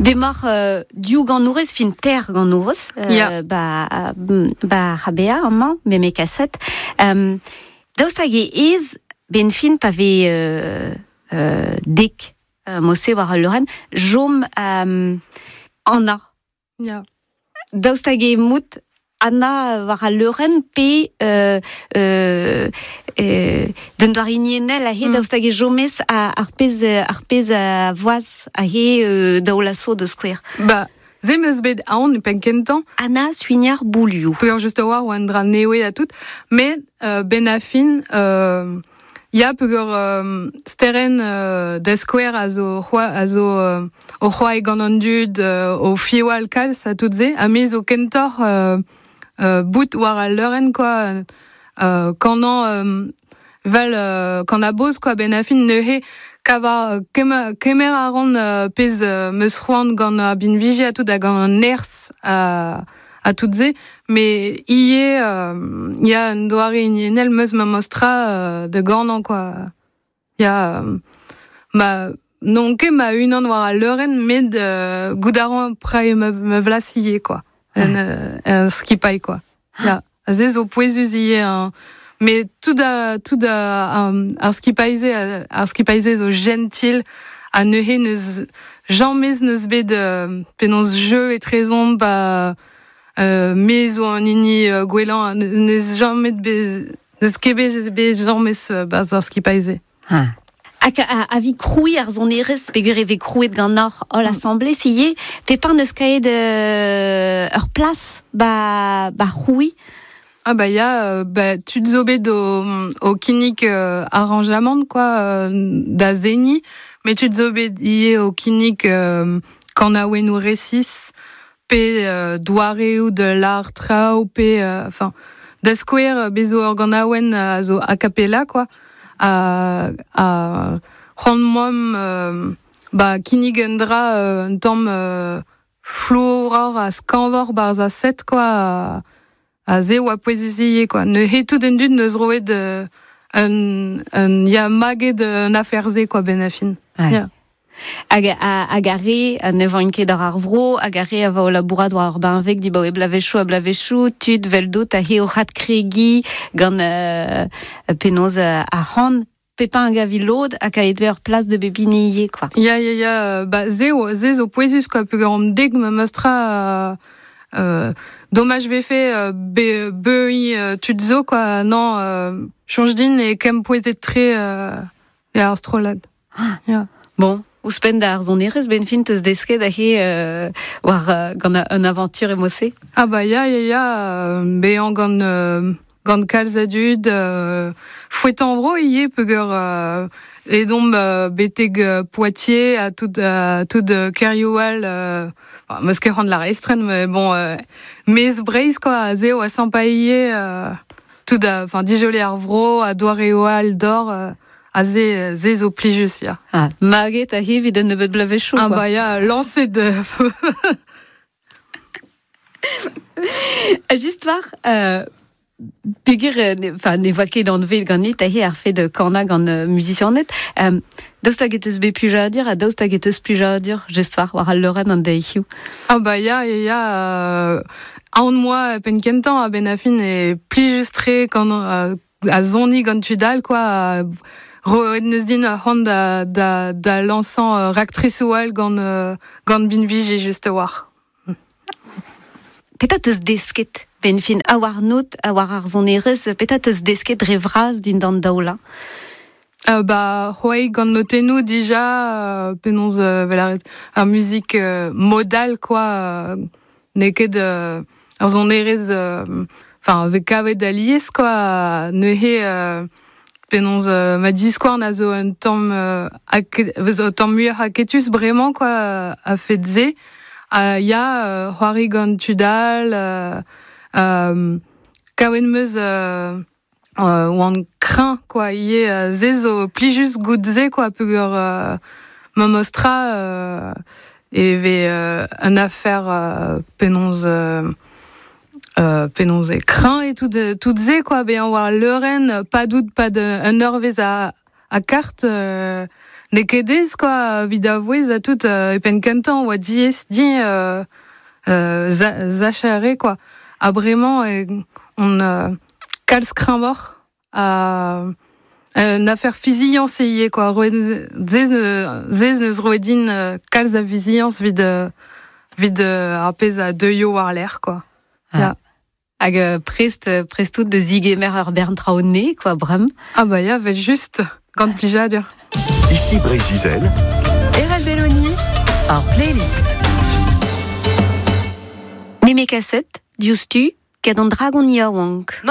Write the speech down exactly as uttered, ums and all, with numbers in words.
Bemar euh, diou ganourez fin ter ganourez euh, Ya. ba, ba rabea amañ, me me kaset. Euh, daoust hag e ez ben fin pa ve euh, euh, dek euh, mose war al leurenn, jom euh, Anna. Ya. Daoust hag e mout Anna war al leurenn pe euh, euh, euh, d'un doar inienel a he Mm. daoust hag e jomez a, ar pez, ar pez a voaz a he euh, daoulaso de square. Ba, ze meus bet aon e pen kentañ, Anna Suignard Bouliou. Peogwir just a-walc'h oa un dra newe ha tout, met euh, ben a fin, euh, ya peogwir euh, steren euh, da skouer a zo c'hoa, a zo euh, o c'hoa e gant an dud, euh, o fiwal kalz ha tout ze, ha me zo kentoc'h euh, euh, bout war al leurenn quoi, euh, kanañ euh, vel euh, kan a boz quoi ben a fin neuze kava kemer, kemer a ran euh, pezh euh, meus c'hoant gant ar binviji ha tout ha gant an nerzh ha, ha tout ze, mais ie euh, ya un doare inienel meus ma mostra euh, de ganañ quoi. Ya euh, ma non ket ma unan war al leurenn met euh, goût a ran prae ma, ma vlas ie quoi. En, euh, en skipailh quoi. Ya, a ze zo pouezus ie hein. Mais tout a, tout a, um, ar skipailh-se, ar skipailh-se zo gentil ha neuze neus jamez neus bet euh, penaos jeu etrezomp ba euh, me zo an hini euh, gwellañ neus jamet bet neus ket bet bet jamez euh, barzh ar skipailh-se. Ha. Hag a, a vi kroui ar zonerez, peogwir e vez krouet gant ar holl Mm. assemblée, se ye, pepañ neus kaet euh, ur plas ba, ba c'houi. Ah bah ya, euh, bah, tud zo bet o, o kinnig euh, arranjamant quoi, euh, da zeni, met tud zo bet ivez o kinnig euh, kanaouennoù resis, pe euh, doareoù de l'art traoù, pe euh, enfin da skouer bez zo ur ganaouenn a zo a cappella quoi, a, a c'hoant moamp euh, ba kinnig un dra euh, un tamm euh, flouroc'h ha skañvoc'h barzh a set quoi, a, a ze oa pouezus ivez quoi. Neuze tout an dud neus roet euh, un, un ya maget un afer-se quoi ben a fin. Ouais. Ya. Hag a, hag ar re a ne vank ket ar ar vro, hag ar re a va o labourat war ar benveg di baoe blavechoù a blavechoù, tud veldot a he o c'had kregi gant euh, penaos euh, ar c'han, pepañ hag a vi lod hag a edve ur plas de bebini quoi. Ya, ya, ya, euh, ba, ze, o, ze zo pouezus quoi, peogwir omp dek ma meustra euh, euh, domaj vefe euh, be, beuiñ euh, tud zo quoi, non, euh, soñj din e kem pouezet tre euh, ya ar strollad. Ya. Bon, ouzhpenn da ar sonerezh ben fin teus desket a he euh, war euh, gant a, un aventure emose. Ah bah ya, ya, ya, euh, bezañ gant, euh, gant kalz a dud, euh, fouetan vro ivez peogwir euh, edomp euh, betek euh, Poitiers ha tout, euh, tout euh, Kerioal, euh, enfin, meus ket c'hoant lâret estren, mais bon, euh, mez Breizh quoi, ze oa sympa ivez, euh, tout a, enfin, dijole ar vro, ha doareoù d'or, euh, a ze, ze zo plijus, ya. Ah, maget a he evit un nebeud blavechoù Ah quoi. bah ya, lancet de... Just war, euh, peogwir, euh, ne, enfin, ne voa ket anvet ganit a he ar fet kana gant euh, musicianet. Euh, daoust hag e teus bet plijadur ha daoust hag e teus plijadur just war war al leurenn an deizioù. Ah bah ya, ya, ya, euh, aon moa pen kentañ a ben a fin e plijus-tre gant, euh, a zoni gant tud all quoi, a roet neus din ar c'hoant da, da, da lañsañ euh, raktrisoù all gant, euh, gant binviji just war. Petra teus desket ben fin a war not, a war ar sonerezh, petra teus desket dre vras dindan daoula? Euh, bah, c'hoari gant notennoù dija, euh, penaos euh, vel ar, ar muzik euh, modal quoi, euh, n'eo ket euh, ar sonerezh, euh, enfin, vez kavet alies quoi, neuze euh, penaos euh, ma diskouarn a zo un tamm, euh, ake, zo un tamm muioc'h aketus bremañ quoi, a fet se. Ha ya, euh, c'hoari gant tud all, euh, euh, kavet meus, euh, euh, oan kreñv quoi, ivez, euh, se zo plijus goût se quoi, peogwir, euh, ma mostra, euh, e vez, euh, un affaire, euh, penaos, euh, euh, penaos e kreñv e tout, tout se quoi, bezañ war leurenn, pas dout, pas de, un eurvezh a, a kart, euh, Ne ket ez, quoi, vid a vouez a tout, euh, e pen kentan oa diez di euh, euh, za, zachere, quoi. Ha bremañ, e, on euh, kalz kreñvoc'h a euh, une affaire fiziañs ivez, quoi. Roet zez zez neus roet din euh, kalz a fiziañs vid euh, vid euh, ar pezh a deuio war l'air, quoi. Ah. Ya. Hag euh, prest, prest tout de zigemer ur bern traoù-ne, quoi, brem. Ah bah ya, vel just, gant plijadur. Ici Breizh-Izel, Erel Belloni, ar playlist. Meme kaset, diouzhtu, ket an dragon yaouank.